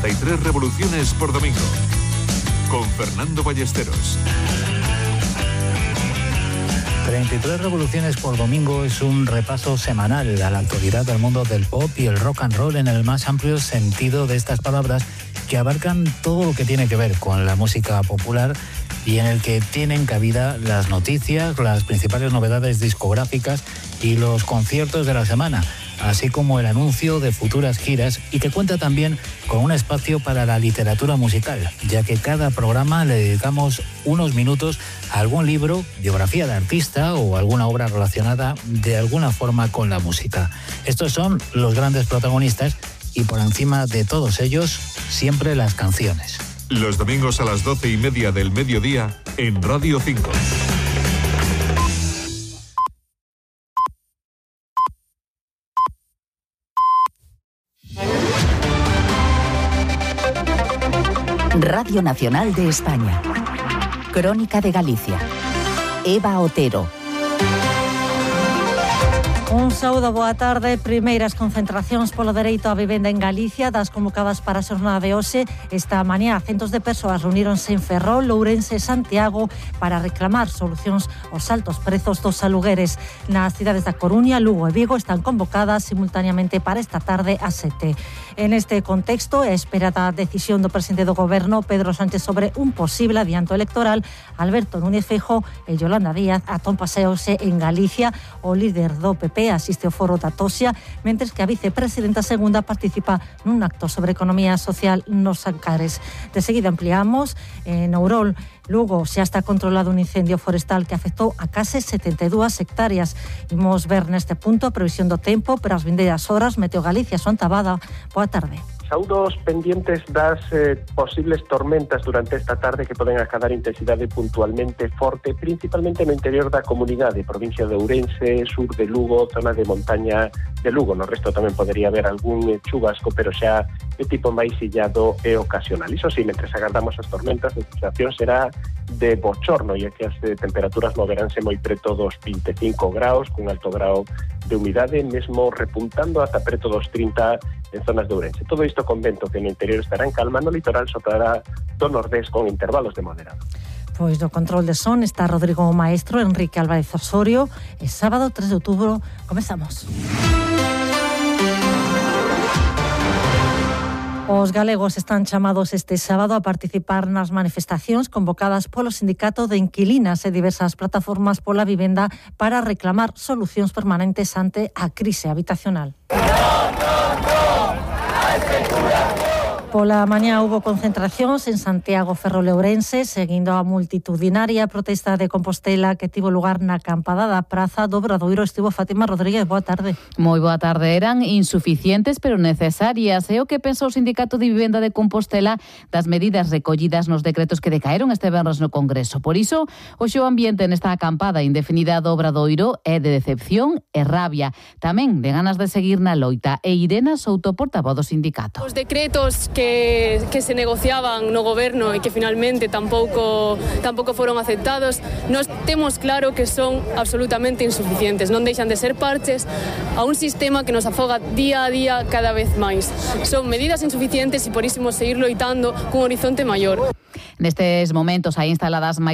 33 revoluciones por domingo. Con Fernando Ballesteros. 33 revoluciones por domingo es un repaso semanal a la actualidad del mundo del pop y el rock and roll en el más amplio sentido de estas palabras, que abarcan todo lo que tiene que ver con la música popular y en el que tienen cabida las noticias, las principales novedades discográficas y los conciertos de la semana, así como el anuncio de futuras giras, y que cuenta también con un espacio para la literatura musical, ya que cada programa le dedicamos unos minutos a algún libro, biografía de artista o alguna obra relacionada de alguna forma con la música. Estos son los grandes protagonistas y por encima de todos ellos, siempre las canciones. Los domingos a las 12:30 del mediodía en Radio 5. Radio Nacional de España. Crónica de Galicia. Eva Otero. Un saúdo, boa tarde. Primeiras concentracións polo dereito á vivenda en Galicia, das convocadas para a xornada de hoxe. Esta mañá, centos de persoas reuníronse en Ferrol, Ourense e Santiago para reclamar solucións aos altos prezos dos alugueres. Nas cidades da Coruña, Lugo e Vigo están convocadas simultaneamente para esta tarde ás 7. En este contexto, é esperada a decisión do presidente do Goberno, Pedro Sánchez, sobre un posible adianto electoral. Alberto Núñez Feijóo e Yolanda Díaz atón paseose en Galicia. O líder do PP asiste ao foro da Tosia, mentres que a vicepresidenta segunda participa nun acto sobre economía social nos Ancares. De seguida ampliamos. En Ourol, Lugo, xa está controlado un incendio forestal que afectou a case 72 hectáreas. Imos ver neste punto a previsión do tempo para as vindeiras horas. Meteo Galicia, Son Tabada. Boa tarde. Saúdos pendientes das posibles tormentas durante esta tarde que poden acadar intensidade puntualmente forte, principalmente no interior da comunidade, provincia de Ourense, sur de Lugo, zona de montaña de Lugo. No resto tamén podería haber algún chubasco, pero xa de tipo máis illado e ocasional. Iso sí, mentre agardamos as tormentas, a sensación será de bochorno, e que as temperaturas moveránse moi preto dos 25 graus, cun alto grau de humidade, mesmo repuntando ata preto dos 30 en zonas de Ourense. Todo isto con vento que no interior estará en calma, no litoral soprará do nordés con intervalos de moderado. Pois do control de son está Rodrigo Maestro, Enrique Álvarez Osorio. É sábado 3 de outubro, comezamos. Os galegos están chamados este sábado a participar nas manifestacións convocadas polo Sindicato de Inquilinas e diversas plataformas pola vivenda para reclamar solucións permanentes ante a crise habitacional. Pola mañá houbo concentracións en Santiago, Ferrol e Ourense, seguindo a multitudinaria protesta de Compostela que tivo lugar na acampada da Praza do Obradoiro. Estivo Fátima Rodríguez, boa tarde. Moi boa tarde. Eran insuficientes pero necesarias. É o que pensa o Sindicato de Vivenda de Compostela das medidas recollidas nos decretos que decaeron este venres no Congreso. Por iso, hoxe o ambiente nesta acampada indefinida do Obradoiro é de decepción e rabia. Tamén de ganas de seguir na loita. E Irena Souto, portavoz do sindicato. Os decretos que se negociaban no goberno e que finalmente tampouco foron aceptados, nós temos claro que son absolutamente insuficientes, non deixan de ser parches a un sistema que nos afoga día a día cada vez máis. Son medidas insuficientes e por iso seguir loitando cun horizonte maior. Nestes momentos hai instaladas máis